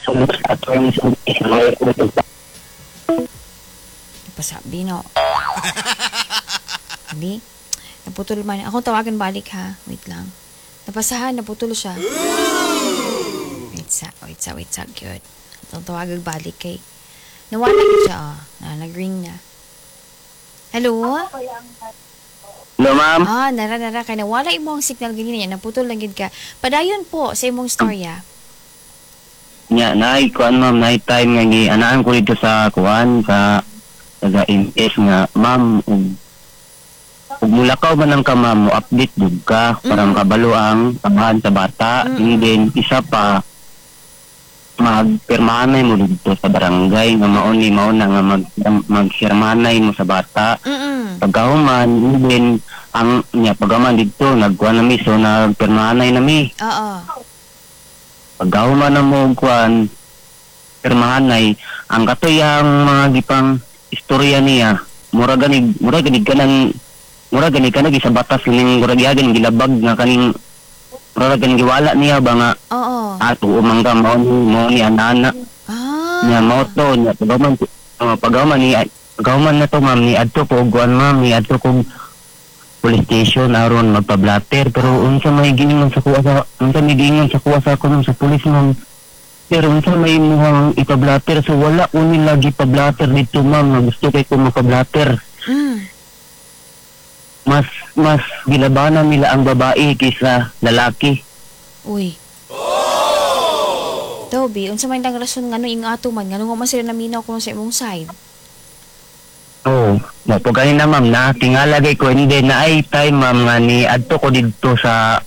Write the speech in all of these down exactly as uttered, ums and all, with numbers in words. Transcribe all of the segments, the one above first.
sulod sa terms of Pasabi no. Abi, naputol man. Akong tawagan balik ha. Wait lang. Napasahan, naputol siya. Wait sa, wait sa, wait sa. Good. Atong tawagan balik kay. Nawala gyud siya, ah. Na, nag-ring na. Hello? Hello, ma'am. Ah, nara nara kay nawala imong signal ganina niya, naputol lang gid ka. Padayon po sa imong storya. Nya, naay kuan ma'am, naay time nga gi anaan ko dito sa kuan sa taga M S nga ma'am, ug ug mulakaw man ang ka ma'am, mo update jud ka para Mm. makabalo ang amahan sa bata. Mm. And then isa pa, magpirmahanay mo dito sa barangay nga mao ni mao na nga mag magpirmahanay mo sa bata. Mm. Pagkahuman, and then ang nya pagkahuman dito nagkuan na mi, so nagpirmahanay na mi. Oo. Pagkahuman na mo kuan pirmahanay, ang katuyang mga gipang istorya niya, mura ganig mura ganig kanang mura ganig kanang sa batas ning mura gihagan gilabag nga kaning mura ganing giwala niya ba nga Oo. ato umangga mao ni mao ni anana Ah. niya mao to niya. Pagkahuman uh, pagkahuman ni pagkahuman na to ma'am, ni adto ko og kuan ma'am, ni adto ko police station aron magpa-blatter, pero unsa may giingon sa kuha sa unsa may giingon sa kuha sa ako ma'am, sa police ma'am, pero unsa may imuhang ipa-blatter? So wala ko nila gipa-blatter dito ma'am, nga gusto kay ko mapa-blatter. Mm. mas mas gilabanan nila ang babae kaysa lalaki. Uy. Toby, unsa man lang rason ngano ing ato man ngano nga man sila naminaw kuno sa imong side? Oo. Mo po kanina ma'am na tingala kay ko, hindi na ay time ma'am nga ni adto ko didto sa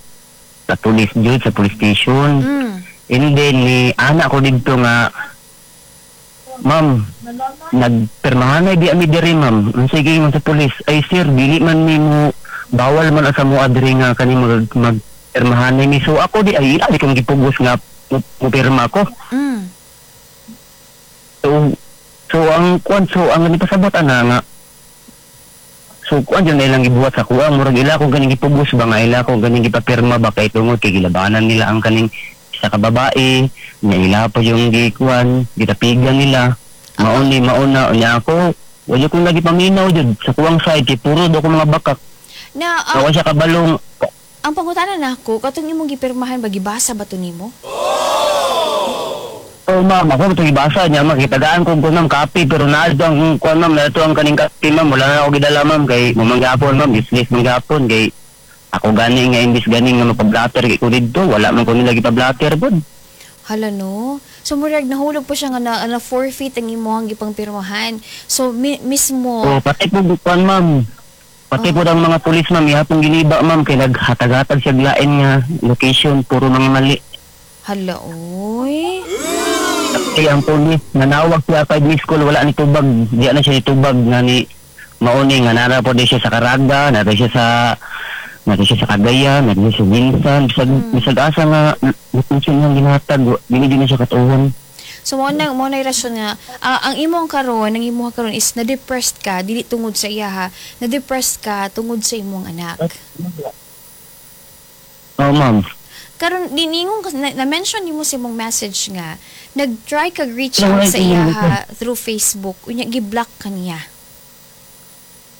sa police jud, sa police station. Mm. And then ni ana ko didto nga ma'am, nagpirmahan di ami diri ma'am. Unsay giingon sa police? Ay sir, dili man mi mo bawal man asa mo adri nga kani mag magpirmahanay mi. So ako di ay ali kong gipugos nga mo mo pirma ko. Mm. So so ang kuan, so ang nipasabot ana nga so kuan jud na ilang gibuhat sa kuha, murag ila ko ganing gipugos ba nga ila ko ganing gipapirma ba kay tungod kay gilabanan nila ang kaning isa ka babae nya ila pa yung gikuan gitapigan nila mao ni mao na. Unya ako wala kong lagi paminaw jud sa kuwang side kay puro daw ko mga bakak. Na ang, uh, siya kabalong. Ang pangutana nako, katong imong gipirmahan ba, gibasa ba to nimo? Oh ma'am, ako ito gibasa niya ma'am, kitagaan ko ko ma'am copy, pero naadto ang kuan ma'am, naadto ang kaning copy ma'am, wala na ako gidala ma'am kay mamanggapon ma'am, useless manggapon kay ako gani nga imbis gani nga mapablatter kay ko didto, wala man ko nila gipablatter pod. Hala no. So murag nahulog pa siya nga na, na forfeit ang imong gipangpirmahan. So mi- mismo Oh, pati po kuan ma'am. Pati po ang mga pulis ma'am, ihapong giniba ma'am kay naghatag-hatag siya lain nga location, puro mga mali. Hala oy. Kay ang pulis nanawag siya kay miss call, wala ni tubag, di na siya nitubag nga ni mauni nga nara po di siya sa Caraga, nara siya sa nara siya sa Cagayan, nara siya sa Binsan, bisag bisag asa nga location nga gihatag, dili din na siya katuon. So mo na mo na rason nga ah, ang imong karon, ang imong karon is na-depressed ka dili tungod sa iya ha. Na-depressed ka tungod sa imong anak. Oh ma'am. Karon diningon ka na, na-mention nimo sa imong message nga nag-try kag reach out sa iya ha through Facebook, unya gi-block ka niya.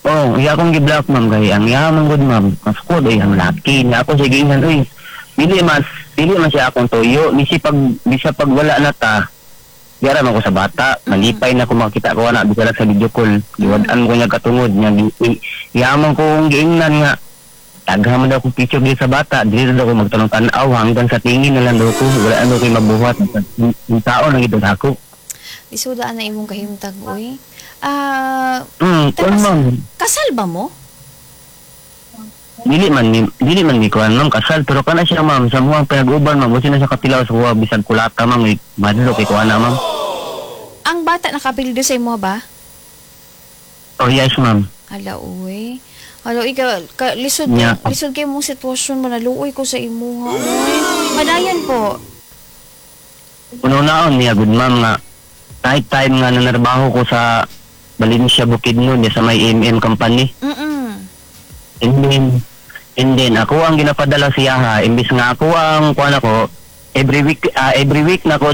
Oh, iya akong gi-block ma'am kay ang iya man gud ma'am. Mas ko ay ang laki na ako sige ingan uy. Dili mas dili man siya akong tuyo, bisi pag bisa pag wala na ta. Diyara man ko sa bata, malipay na ko makita ko ana bisa lang sa video call. Giwad-an ko niya katungod niya gi- iya man ko giingnan nga tagha man daw kong picture dito sa bata, dili daw ko magtanong tan-aw hanggang sa tingin na lang daw ko, wala na daw ko'y mabuhat. Yung tao nang ito ako. Isudaan na imong kahimtag uy. Ah, Hmm, kuan Tapos- ma'am. kasal ba mo? Dili man ni dili man ni kuan ma'am kasal, pero kana siya ma'am sa muang pinag-uban ma'am, busi na siya katilaw sa kuha bisag kulata ma'am, eh, madlo kay kuan na ma'am. Ang bata nakapildo sa imo ba? Oh yes ma'am. Hala uy. Hala ikaw ka, lisod Yeah. lisod kay mong sitwasyon mo, naluoy ko sa imuha uy. Padayon po. Uno-naon niya good ma'am nga night time nga nanarbaho ko sa Valencia Bukidnon sa may M M company. Mm. And then and then ako ang ginapadala siya ha, imbis nga ako ang kuan ako every week ah, every week na ko.